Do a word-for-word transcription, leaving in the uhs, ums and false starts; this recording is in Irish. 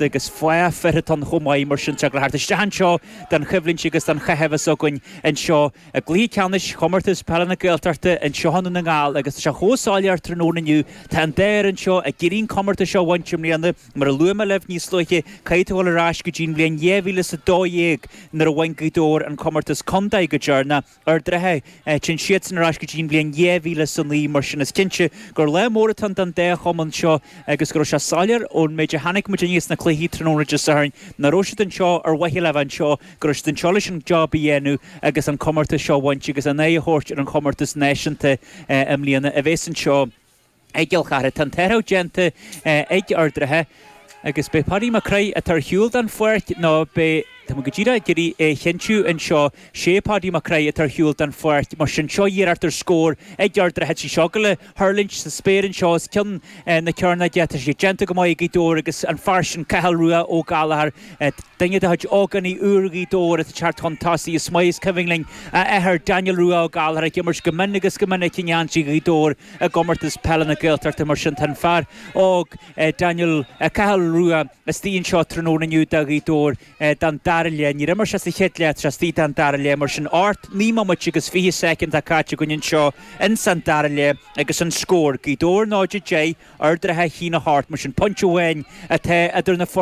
Agus fá fir atá ann chomh maith, mar sin tá thart isteach anseo don choimhlint agus don chaitheamh is againn anseo i gcluiche ceannais Chomórtas Peile na Gaeltachta anseo i nDún na nGall. Agus tá sé chomh soiléir tráthnóna inniu, tá an dá fhoireann seo ag iarraidh an comórtas seo a bhaint i mbliana. Mar a luaigh mé libh níos luaithe, caithfidh tú dhul ar ais go dtí an bhliain dhá mhíle is a dó dhéag nuair a bhain Gaoth Dobhair an comórtas contae go deireanach. Ard an Rátha, téann siadsan ar ais go dtí an bhliain dhá mhíle is a naoi. Mar sin is cinnte gur lá mór atá ann don dá chumann seo agus go raibh sé soiléir ón méid a chonaic muid inniu sna cluichí tráthnóna Dé Sathairn nach raibh siad anseo ar mhaithe le bheith anseo, go raibh siad anseo leis an job a dhéanamh agus an comórtas seo a bhaint agus a n-aghaidh a thabhairt ar an chomórtas náisiúnta i mbliana a bheas anseo i gCill Chartha. Tá an t-athrú déanta ag Ard an Rátha agus beidh Paddy Mac Craith atá ar shiúl den pháirc nó beidh, tá mé go díreach ag iarraidh é a chinntiú anseo, sé Paddy Mac Craith atá ar shiúl den pháirc, mar sin seo iarracht ar scór ag Ard an Rátha, tá sí ag gabháil a thuirlingt sa spéir anseo os cionn na cearnóige, tá sé déanta go maith ag Gaoth Dobhair agus an fear sin Cathal Rua Ó Gallchóir, duine de chuid ógánaigh úra Ghaoth Dobhair atá ag teacht chun tosaigh. Is maith is cuimhin linn a athair Daniel Rua Ó Gallchóir ag imirt go mion agus go minic i ngeansaí Ghaoth Dobhair i gcomórtas peile na Gaeltachta. Mar sin tá an fear óg Daniel, Cathal Rua istigh anseo tráthnóna inniu do Ghaoth Dobhair don dara leath. Níor imir sé sa chéad leath, tá sé istigh don dara leath. Mar sin ocht, naoi mbomaite agus fiche soicind atá caite againn anseo ins an dara leath agus an scór, Gaoth Dobhair náid a deich, Ard an Rátha a haon a hocht. Mar sin pointe amháin atá idir na foirne.